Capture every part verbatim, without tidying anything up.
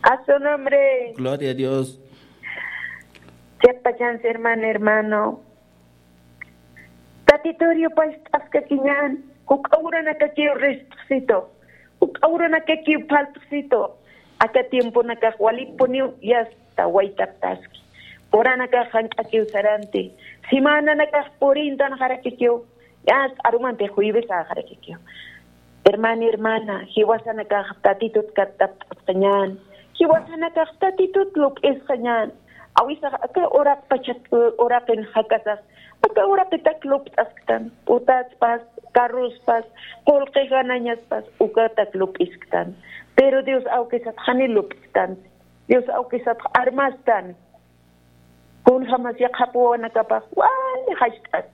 A su nombre. Gloria a Dios. Chiqpachansi, hermano, hermano. Tatituriw past'askakiñän, juk'a uranakakiw rist'xsitu, juk'a uranakakiw phalt'xsitu. Aka tiemponakax walipuniw yasta waytaptaski. Uranakax jank'akiw saranti. Semananakax purintanxarakikiw. Yasta arumampi juevesaxarakikiw. Hermana, hermana, jiwasanakax Tatitut katt'apt'asqañän, jiwasanakax Tatitut lup'isqañän. Awisax aka uraqpachat, uraqin jakasax, aka uraqitak lupt'asktan, putaspas, carrospas, qullqi ganañaspas, ukatak lup'isktan. Pero Dios awkisat jani lup'istan, Dios awkisat armastan. Kunjamas yaqhap wawanakapax wali jallt'as,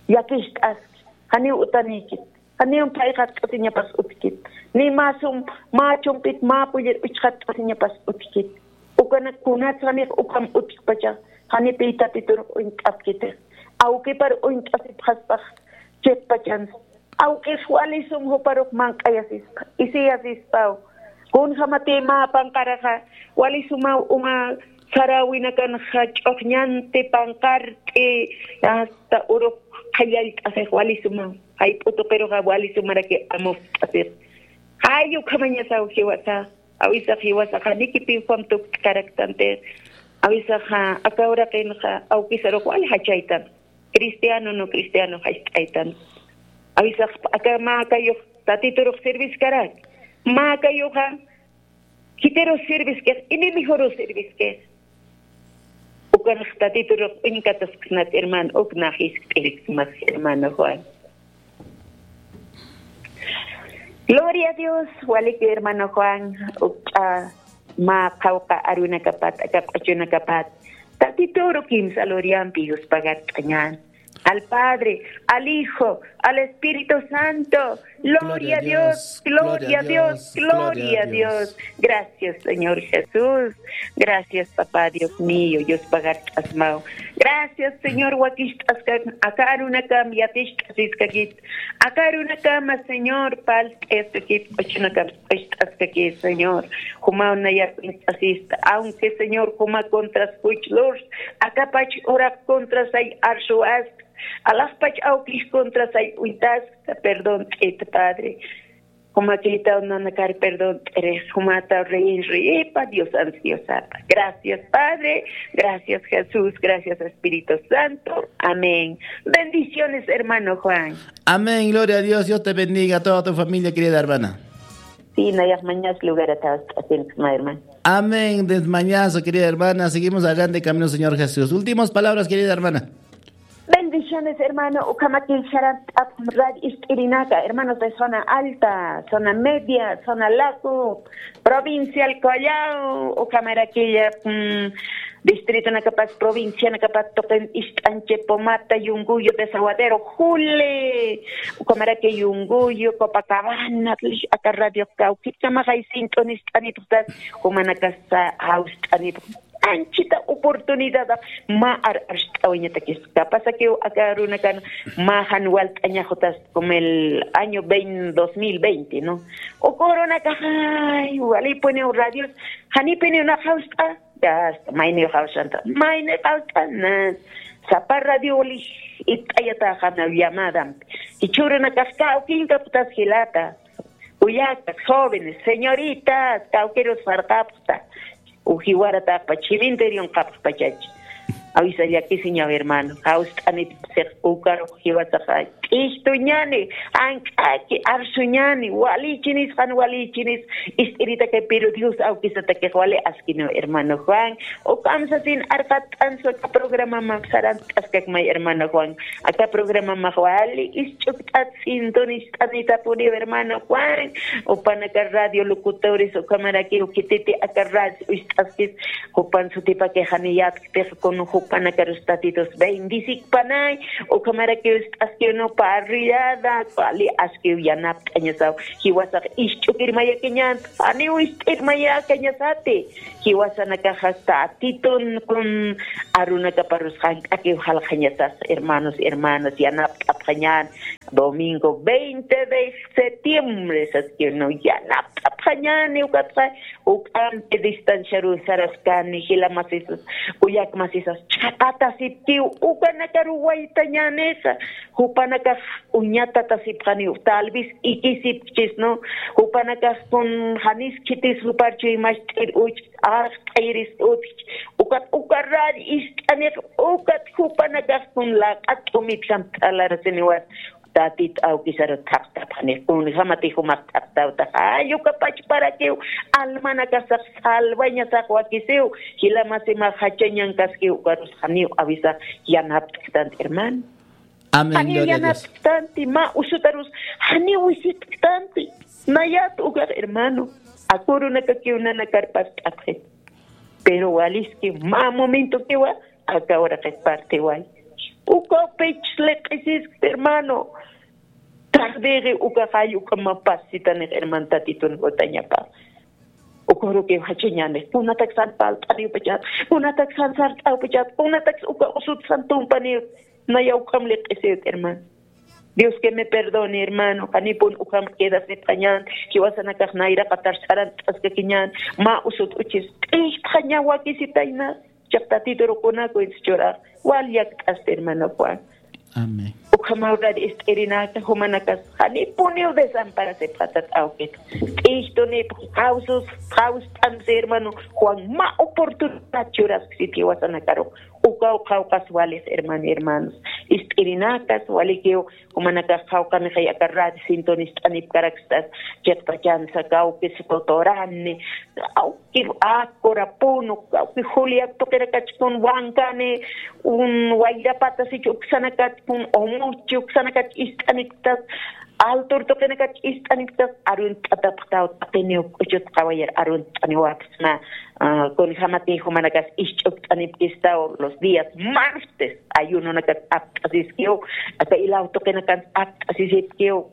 llakist'aski, janiw utanïkit, janiw phayxatt'asiñapas utjkit, ni mä sum, mä chumpit, mä pullir uchxatt'asiñapas utjkit. Ukanak kunats janix ukham utjkpacha, janipï Tatitur uñt'apkitix. Awkipar uñt'asipxaspax chiqpachansa. Awkix wali sum juparux manq'ayasispa, isiyasispaw. Kunjamatï mä panqaraxa wali sumaw uma saräwinakanxa ch'uxñanti panqart'i, hasta urux qhillallt'asix wali sumaw. Jayp'u tuqiruxa wali sumaraki amupt'asix. Jay ukhamañasaw jiwasa, awisax jiwasaxa nikipï jam tukt'karaktantix. Awisaxa aka uraqinxa awkisarux wali jachaytan. Cristiano, no cristiano jallt'aytan. Awisax aka mä akayux Tatiturux serviskarak. Mä akayuxa khitirus serviskix, enemigoru serviskix. Ukanx Tatiturux uñkatasksnat, hermano, uk nax jiskt'iriksmas, hermano Juan. Gloria a Dios, walikiw hermano Juan, ukch'a mä qhawqha arunakapat, aka q'uchunakapat, Tatituru kimsa gloriampi yuspagart'añän. Al Padre, al Hijo, al Espíritu Santo. Gloria a Dios, gloria a Dios, gloria a Dios. Gracias, Señor Jesús. Gracias, papá Dios mío, yuspagart'asmaw. Gracias, Señor, wakist'askak, aka arunakam yatist'asiskakit. Aka arunakama, Señor, palt'askakit, q'uchunakam q'ucht'askakit, Señor. Jumaw nayar uñt'asista, aunque, Señor, juma contras juch lurs, akapach uraq contrasay arsuwast, alaxpach awkix contrasay uñtasta, perdón t'it, Padre. Jumakïtaw nanakar perdón t'irix, jumataw reyin reyipa, Diosans Diosapa. Gracias, Padre. Gracias, Jesús. Gracias, Espíritu Santo. Amén. Bendiciones, hermano Juan. Amén. Gloria a Dios. Dios te bendiga, a toda tu familia, querida hermana. Sí, nayax mañas lugar atas, hermano. Amén. Desmañazo, querida hermana. Seguimos adelante, camino, Señor Jesús. Últimas palabras, querida hermana. Bendiciones, hermano. Ukhamakï sarant'ap rad ist'irinaka, hermanos de zona alta, zona media, zona lago, provincia El Collao, ukhamaraki, mm, distritonakapas, provincianakapas, tuqin ist'anchi, Pomata, Yunguyo, Desaguadero, Jule, ukhamaraki Yunguyo, Copacabana, aka radio kawkit kamaqay sint'un ist'anipxtas, jumanakasa jawst'anipx. Anchita oportunidad mä ar arst'awañatakis. Kapasakiw aka arunakan mä jan walt'añaxutas como el año veinte, dos mil veinte, ¿no? Uka urunakaxay, walipuniw radios, janipiniw nax jawst'a, ya está, mayniw jawst'anta, mayniw jawst'ana. Sapa radio wali it'ayataxanaw llamadampi. Jichhürunakax kawkinkapxtas jilata. Kullakas, jóvenes, señoritas, kawkirus farqapxta. Uji warataxpach, cementerion qapxpachach. Awisa llakisiñaw, hermano. Jawst'anipxsix ukarux jiwasaxa. K'istuñani, ank'aki, arsuñani, walichinis, jan walichinis, ist'iritakay, pero Dios awkisatakix wali askiniw, hermano Juan. Ukamsasin arqatt'ansu aka programa mapsaran t'askakmay, hermano Juan. Aka programa max wali isch'ukt'at sintonist'anitapuniw, hermano Juan. Jupanaka radio locutores, ukhamarakiw khititi aka radio ist'askis, jupan sutipaki janiyat, pero con jupanakarus Tatitus bendisikpanay, ukhamarakiw ist'askiw no parrillada, wali askiw yanapt'añasaw, jiwasax isch'ukirmayakiñan, janiw ist'irmayakañasati. Jiwasanakaxa Tatitun kun arunakaparus jank'akiw jalxañasas, hermanos, hermanas, yanapt'apxañän. Domingo veinte de septiembre, sas que no, yanapt'apxañäni, ukatxa, uk'ampi distanciaru saraskani, jila masisas, kullak masisas, chhaqatasipkiw, ukanakaru waytañänisa, jupanakax uñatatasipxaniw, tal vez ikisipkchis, ¿no? Jupanakax kun janis khitis jupar chuymacht'ir uch, arxt'ayiris utjch, ukat ukarar ist'anix, ukat jupanakax kun laq'at t'umitjam t'alarasiniwat, Tatit awkisaru thaqtapxani, kunjamati jumax thaqtawtax, ay, uka pachparakiw, almanakasax salvañasax wakisiw, jila masimax jachañankaskiw, ukarus janiw awisax yanapt'ktanti, hermano. Amén, janiw gloria a Dios. Yanapt'ktanti, mä usutarus janiw wisitktanti. Nayat ukax, hermano, akurunakakiw nanakar past'apxit. Pero waliskiw mä momentokiwa, aka uraqit partiway. Ukaw pich liq'isiskti, hermano. Tardiri uka jall uka mapasitanix, hermano, Tatitun jutañapa. Ukarukiw jachañänix, kunataksan palt'aniwpachat, kunataksan sart'awpachat, kunataks uka usutsan tumpaniw, naya ukham liq'isiwt, hermano. Dios que me perdone, hermano, janipun ukham quedasipxañän, jiwasanakax nayraqatar sarant'askakiñän, mä usut uchis, t'istxaña wakisitayna, chiqtatiturukunaku insichurax, wal yakt'asti, hermano Juan. Amén. Ukhamaw rar ist'irinaka, jumanakas, janipuniw desamparasipxatat awkit. T'istunip, qawsus, qawst'ansi, hermano Juan, mä oportunidad churasksiti jiwasanakaru. Ukaw qawqas walix, hermano, hermanos. Ist'irinakas, walikiw, jumanakax qawqanixay aka radio sintonist'anipkarakstas, chiqtachansa kawkis Cotorani, kawki Acorapunu, kawki Juliac tuqirakachkun Huancani, un Huayrapatas ich uksanakachkun Omochi uksanakach ist'anipktas, Altur tuqinakach ist'anipktas arunt'atapxtaw, taqiniw k'uchut qawayar arunt'aniwapxsma, ah, kunjamati jumanakas isch'ukt'anipkistaw los días martes, ayunonakas apt'asiskiw, aka ilaw tuqinakans apt'asisipkiw,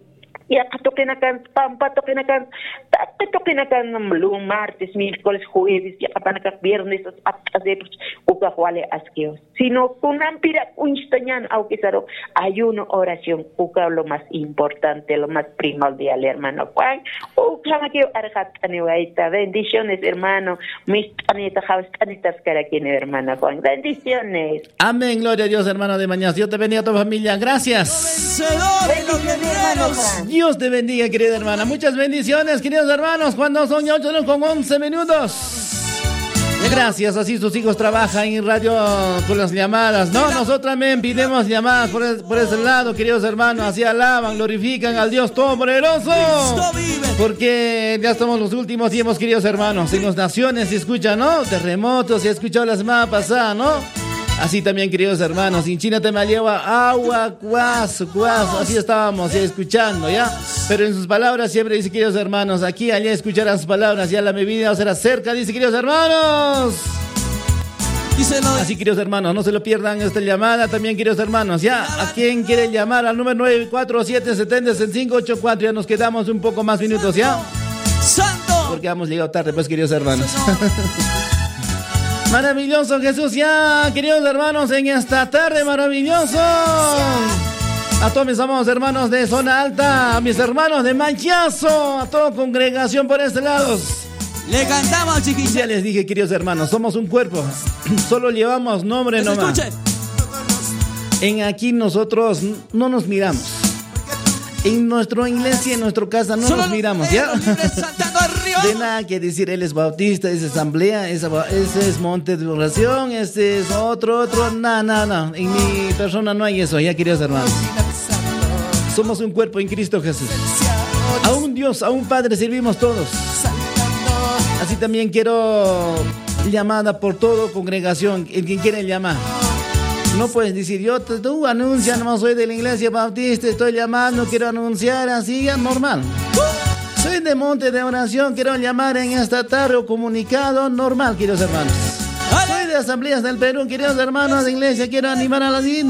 yaqa tuqinakans, pampa tuqinakans, taqi tuqinakans, lu-, martes, miércoles, jueves, yaqapanakax viernes apt'asipx, ukax wali askiw. Sino kunampirak uñstañän awkisaru, ayuno, oración, ukaw lo más importante, lo más primordial, hermano Juan. Ukhamakiw arxat'aniwayta. Bendiciones, hermano. Mist'anita, jawst'anitaskarakini, hermano Juan. Bendiciones. Amén, gloria a Dios, hermano de Mañas. Dios te bendiga a tu familia. Gracias. Bendiciones, hermano Juan. Dios te bendiga, querida hermana. Muchas bendiciones, queridos hermanos. Cuando son ya ocho con once minutos. Gracias, así sus hijos trabajan en radio con las llamadas, ¿no? Nosotros también pidemos llamadas por, es- por ese lado, queridos hermanos. Así alaban, glorifican al Dios Todopoderoso. Porque ya estamos los últimos tiempos, queridos hermanos. En las naciones se escucha, ¿no? Terremotos, se ha escuchado la semana pasada, ¿no? Así también, queridos hermanos, en China también lleva agua, cuas, cuas, así estábamos ya escuchando, ¿ya? Pero en sus palabras siempre dice, queridos hermanos, aquí, allá escucharán sus palabras, ya la mi vida será cerca, dice, queridos hermanos. Díselo. Así, queridos hermanos, no se lo pierdan esta llamada también, queridos hermanos, ¿ya? ¿A quién quiere llamar? Al número nueve cuatro siete setenta sesenta y cinco ocho cuatro, ya nos quedamos un poco más minutos, ¿ya? Santo. Porque hemos llegado tarde, pues, queridos hermanos. Maravilloso Jesús, ya, queridos hermanos, en esta tarde maravilloso. A todos mis amados hermanos de Zona Alta, a mis hermanos de Mañaso, a toda congregación por este lado. Le cantamos, chiquilla. Ya les dije, queridos hermanos, somos un cuerpo. Solo llevamos nombre nomás. Escuchen. En aquí nosotros n- no nos miramos. En nuestra iglesia, en nuestra casa, no nos miramos, ¿ya? De nada que decir, él es bautista, es asamblea, es, aba- ese es monte de oración, este es otro, otro, no, no, no. En mi persona no hay eso, ya, queridos hermanos. Somos un cuerpo en Cristo Jesús. A un Dios, a un Padre servimos todos. Así también quiero llamada por todo congregación, el que quiere llamar. No puedes decir, yo te, tú anuncia, no soy de la iglesia bautista, estoy llamando, quiero anunciar, así ya normal. Soy de Monte de Oración, quiero llamar en esta tarde o comunicado normal, queridos hermanos. Soy de Asambleas del Perú, queridos hermanos de iglesia, quiero animar a la gente.